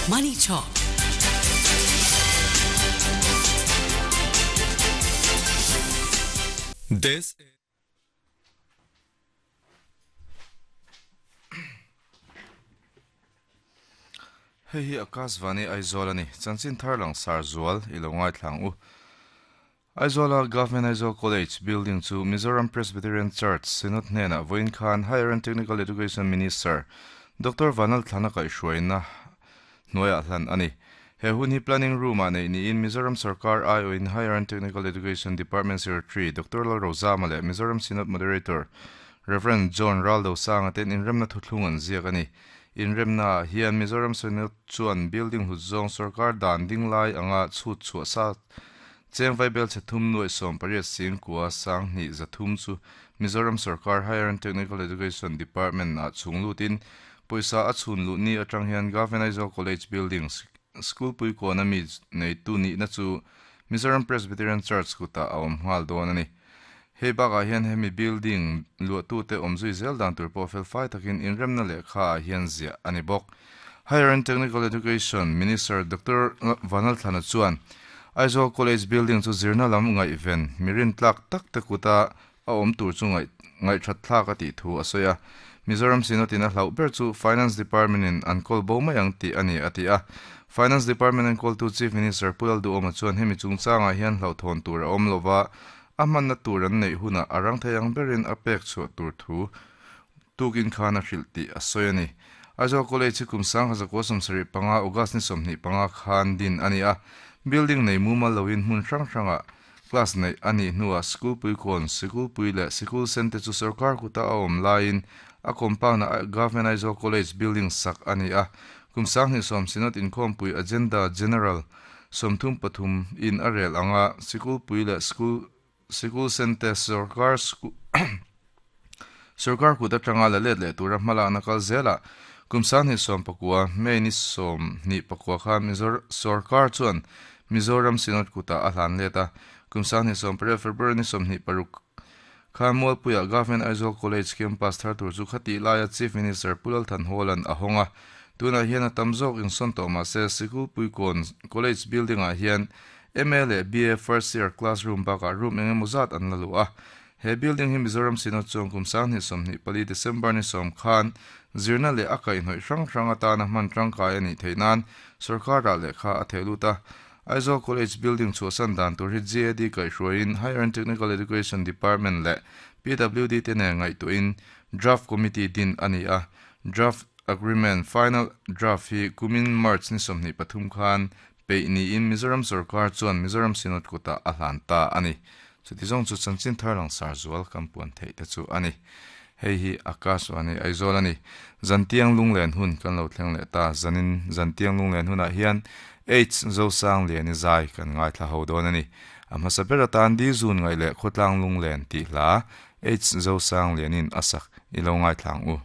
Money Talk. This Hei hi Akashvani Aizawl a ni. Chanchin thar langsar zual i lo ngaithlang u. Aizawla Government Aizawl College building chu Mizoram Presbyterian Church Synod hnenah vawiin khan Higher and Technical Education Minister Doctor Vanal Thlana kaihhruaina hnuaiah hlan a ni. He hun hi Planning Room-ah neih niin Mizoram Sarkar aiawhin Higher and Technical Education Department Secretary Doctor Lalrozama leh Mizoram Synod Moderator Rev. John Raldosanga ten inremna thuthlung an ziak a ni. Inremnaah hian Mizoram Synod chuan building hlut zawng sarkar dan ding lai anga chhut chhuah sa Cheng Vaibel chhe thum nuaih 18 sing kua sang hnih za thum chu Mizoram Sarkar Higher and Technical Education Department ah chhung lutin pawisa a chhun luh ni atang hian Government Aizawl College Building School puikawn a mi neitu nihna chu Mizoram Presbyterian Church kutah a awm nghal dawn a ni. Hei bakah hian hemi building luahtute awm zui zel dan tur pawh felfai takin inremna lehkha ah hian ziah a ni bawk. Higher and Technical Education Minister Doctor Vanlalthlana chuan Aizawl College building chu zirna lam ngaihven mi rintlak tak te kuta a awm tur chu ngaihthat thlak a tih thu a sawi a. Mizoram Synod in a hlauh ber chu Finance Department in an kawl bo mai ang tih a ni a ti a. Finance Department enkawltu Chief Minister Pu Lalduhawma chuan hemi chungchangah hian hlauhthawn tur a awm lova, a hmanna tur an neih hunah a rang thei ang berin a pek chhuah tur thu tukin khan a hrilh tih a sawi a ni. Aizawl College hi kum 1975 August ni 25 khan din a ni a, building nei mumal loin hmun hrang hrangah class neih a nih hnuah sikul puikawn, sikul pui leh sikul sen te chu sorkar kuta a awm laiin a compound-ah Government Aizawl College building sak a ni a, kum 20 Synod inkhawmpui agenda general 33 in a rel anga sikul pui leh school sikul sen te sorkar sorkar kut atanga la let leh tura hmalakna kal zelah kum 2019 May ni 24 khan Mizor sorkar chuan Mizoram Synod kutah a hlan let a, kum 2018 February ni 26 khan Mualpuiah Government Aizawl College campus thar tur chu khatih laia Chief Minister Pu Lalthanhawla'n a hawng a, tunah hian a tam zawk insawn tawh mahse Sikulpuikawn College building-ah hian MA leh BA first year classroom bakah room eng emaw zat an la luh a. He building hi Mizoram Synod chuan kum 2024 December ni 10 khan zirna leh a kaihhnawih hrang hrang atana hman tangkai a nih theih nan sorkarah lehkha a theh lut a. Aizawl College building chhuahsan dan tur hi GAD kaihhruaiin Higher and Technical Education Department leh PWD te nen ngaihtuahin Draft Committee din a ni a. Draft Agreement Final Draft hi kumin March ni 23 khan peih niin Mizoram sorkar chuan Mizoram Synod kutah a hlan ta a ni. Chuti zawng chu chanchin thar langsar zual kan puan theih te chu a ni. Hei hi Akashvani Aizawl a ni. Zantiang lunglen hun kan lo thleng leh ta. Zanin zantiang lunglen hunah hian H Zosangliani zai kan ngaithla ho dawn a ni. A hmasa ber atan Di Zun ngaih leh Khawtlang lunglen tih hla H Zosanglianin a sak i lo ngaithla ang u.